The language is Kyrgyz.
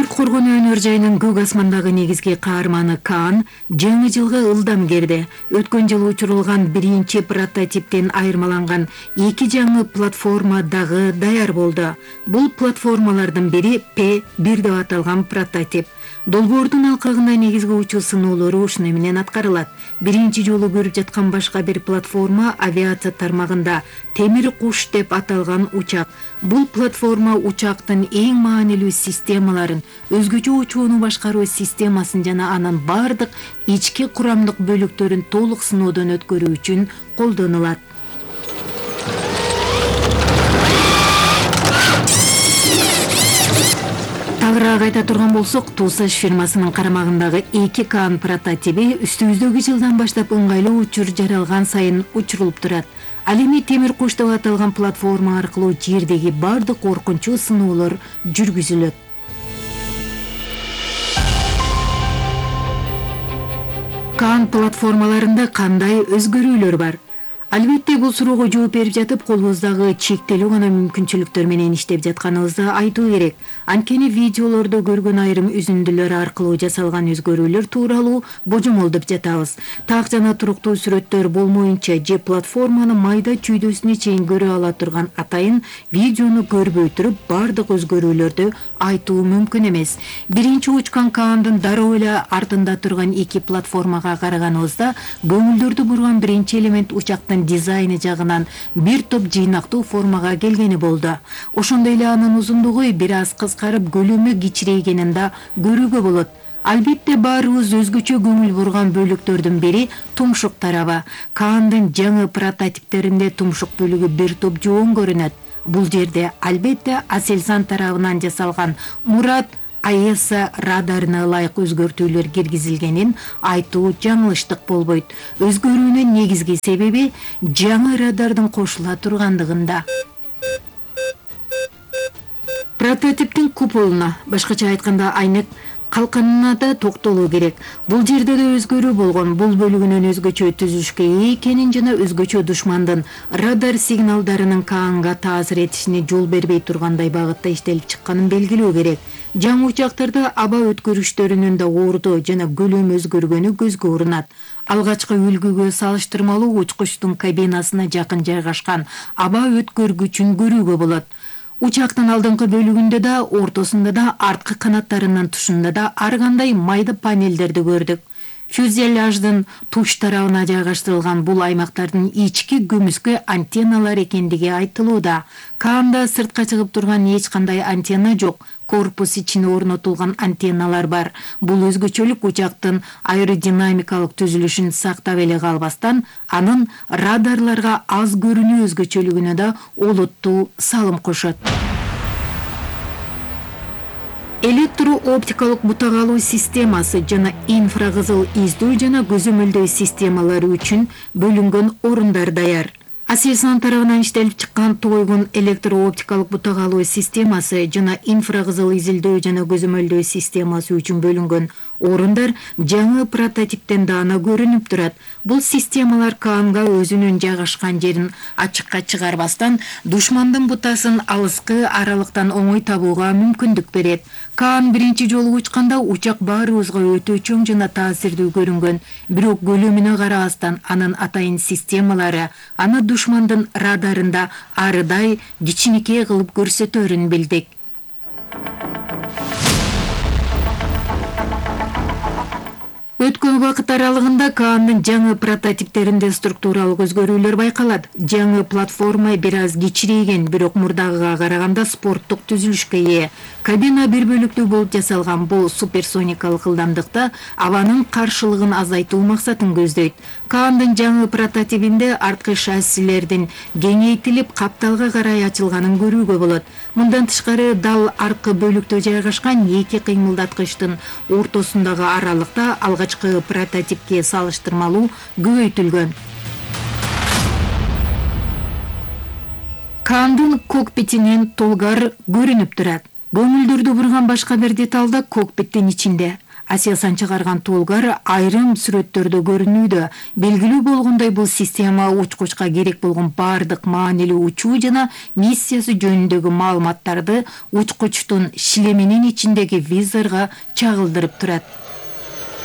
Түрк коргонуу өнөр жайынын көк асмандагы негизги каарманы Каан жаңы жылга ылдам кирди. Өткөн жылы учурулган биринчи прототиптен айырмаланган 2 жаңы платформа дагы даяр болду. Бул платформалардын бири P1 деп аталган прототип. Долбоордун алкагында негизги учуу сыноолору ушуну менен аткарылат. Биринчи жолу көрүп жаткан башка бир платформа авиация тармагында темир куш деп аталган учак. Бул платформа учактын эң маанилүү системаларын, өзгөчө учууну башкаруу системасын жана анын бардык ички курамдык бөлүктөрүн толук сыноодон өткөрүү үчүн колдонулат. Тагыраак айта турган болсок, Тусаш фирмасынын карамагындагы 2 Каан прототиби үстүбүздөгү жылдан баштап ыңгайлуу учур жаралган сайын учурулуп турат. Ал эми темир куш деп аталган платформа аркылуу жердеги бардык коркунчуу сыноолор жүргүзүлөт. Каан платформаларында кандай өзгөрүүлөр бар? Албетте, бул суроого жооп берип жатып, колубуздагы чектелүү гана мүмкүнчүлүктөр менен иштеп жатканыбызды айтуу керек. Анткени видеолордо көргөн айрым үзүндүлөр аркылуу жасалган өзгөрүүлөр тууралуу божомолдоп жатабыз. Так жана туруктуу сүрөттөр болмоюнча же платформанын майда чүйдөсүнө чейин көрө ала турган атайын видеону көрбөй туруп бардык өзгөрүүлөрдү айтуу мүмкүн эмес. Биринчи учкан Каандын дароо эле артында турган 2 платформага караганыбызда көңүлдөрдү бурган биринчи элемент учактын дизайны жагынан бир топ жыйнактуу формага келгени болду. Ошондой эле анын узундугу бир аз кыскарып, көлөмү кичирейгенин да көрүүгө болот. Албетте, баарыбыз өзгөчө көңүл бурган бөлүктөрдүн бири тумшук тарабы. Каандын жаңы прототиптеринде тумшук бөлүгү бир топ жоон көрүнөт. Бул жерде албетте Aselsan тарабынан жасалган Мурат АЭС радарына ылайык өзгөртүүлөр киргизилгенин айтуу жаңылыштык болбойт. Өзгөрүүнүн негизги себеби жаңы радардын кошула тургандыгында. Прототиптин куполуна, башкача айтканда айнек калканына да токтолуу керек. Бул жерде да өзгөрүү болгон. Бул бөлүгүнүн өзгөчө түзүлүшкө ээ экенин жана өзгөчө душмандын радар сигналдарынын Каанга таасир этишине жол бербей тургандай багытта иштелип чыкканын белгилөө керек. Жаңы учактарда аба өткөрүштөрүнүн да ордо жана көлөмү өзгөргөнү көзгө урунат. Алгачкы үлгүгө салыштырмалуу учкучтун кабинасына жакын жайгашкан аба өткөргүчүн көрүүгө болот. Учактын алдыңкы бөлүгүндө да, ортосунда да, арткы канаттарынын тушунда да ар кандай майда панелдерди көрдүк. Фюзеляждын туш тарабына жайгаштырылган бул аймактардын ички көмүскө антенналар экендиги айтылууда. Каанда сыртка чыгып турган эч кандай антенна жок. Корпус ичине орнотулган антенналар бар. Бул өзгөчөлүк учактын аэродинамикалык түзүлүшүн сактап эле калбастан, анын радарларга аз көрүнүү өзгөчөлүгүнө да олуттуу салым кошот. Электро-оптикалык бутак алуу системасы жана инфракызыл издөө жана көзөмөлдөө системалары үчүн бөлүнгөн орундар даяр. Aselsan тарабынан иштелип чыккан тойгун электро-оптикалык бутак алуу системасы жана инфракызыл изилдөө жана көзөмөлдөө системасы үчүн бөлүнгөн орундар жаңы прототиптен даана көрүнүп турат. Бул системалар Каанга өзүнүн жайгашкан жерин ачыкка чыгарбастан, душмандын бутасын алыскы аралыктан оңой табууга мүмкүндүк берет. Каан биринчи жолу учканда учак баарыбызга өтө чоң жана таасирдүү көрүнгөн, бирок көлөмүнө карабастан анын атайын системалары аны душмандын радарында арыдай кичинекей кылып көрсөтөрүн билдик. Өткөн убакыт аралыгында Каандын жаңы прототиптеринде структуралык өзгөрүүлөр байкалат. Жаңы платформа бир аз кичирейген, бирок мурдагыга караганда спорттук түзүлүшкө ээ. Кабина бир бөлүктүү болуп жасалган. Бул суперсоникалык ылдамдыкта абанын каршылыгын азайтуу максатын көздөйт. Каандын жаңы прототипинде арткы шассилердин кеңейтилип капталга карай ачылганын көрүүгө болот. Мындан тышкары дал аркы бөлүктө жайгашкан 2 кыймылдаткычтын ортосундагы аралыкта алгачкы прототипке салыштырмалуу көбөйтүлгөн. Каандын кокпитинен толгар көрүнүп турат. Көңүлдөрдү бурган башка бир деталь да кокпиттин ичинде. Aselsan чыгарган толгар айрым сүрөттөрдө көрүнүүдө. Белгилүү болгондой бул система учкучка керек болгон бардык маанилүү учуу жана миссиясы жөнүндөгү маалыматтарды учкучтун шлеминин ичиндеги визорго чагылдырып турат.